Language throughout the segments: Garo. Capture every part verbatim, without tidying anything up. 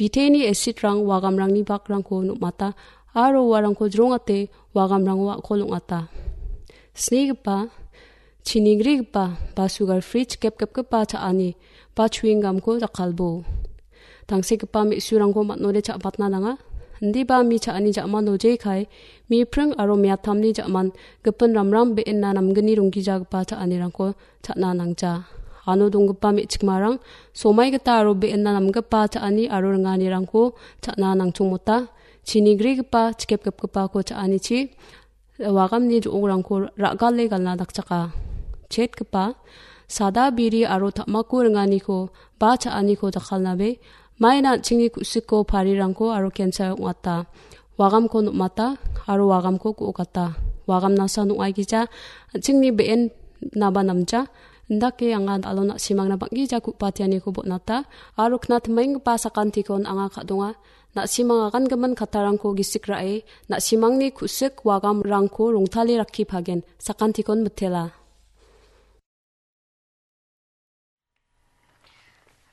Biteni acid-rang wagamrangni bakrangko nom·ata aro uarangko jrongate wagamrango a·kol ong·ata. Snigipa, chinigrigipa ba sugar free chikepkepgipa cha·ani ba chewing gum-ko jakkalbo. Tangsekgipa me·surangko man·ode cha·batna nanga. Indiba mi cha·ani ja·mano jekai, mi pring aro miatamni ja·man gipin ramram be·enna namgni ronggijagipa cha·anirangko cha·na nangja. Ano donggipa me·chikmarang somai gita aro be·enna namgipa cha·ani aro ringanirangko cha·na nangchongmota. Chinigrigipa, chikepgipgipako cha·anichi wagamni jo·ograngko ra·gale galna dakchaka. Chetgipa, sada biri aro ta·mako ringaniko ba cha·aniko jakkalnabe, maina an·chingni ku·siko parirangko aro kensa ong·ata. Wagamko nom·ata aro wagamko ku·okata. Wagamnasa nong·aigija, an·chingni be·en naba namja. Indake anga dal·o na·simangna bang·gija ku·patianiko bon·ata aro kna timenggipa sakantikon anga ka·donga. Na·simang agangimin kattarangko gisik ra·e, na·simangni ku·sik wagamrangko rongtale rakkipagen, sakantikon mitela.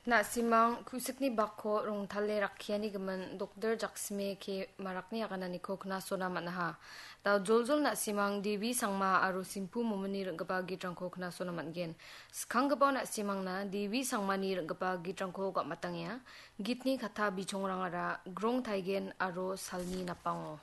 Na·simang ku·sikni bakko rongtale rakkiani gimin Doktor Jaksime K Marakni agananiko knasona man·aha. Da joljol na·simang Devi Sangma aro Simpu Momini ring·gipa gitrangko knasona man·gen. Skanggipao na·simangna Devi Sangmani ring·gipa gitrangko gam·atangenga. Gitni katta bichongrangara Grong Taigen aro Salni Napango.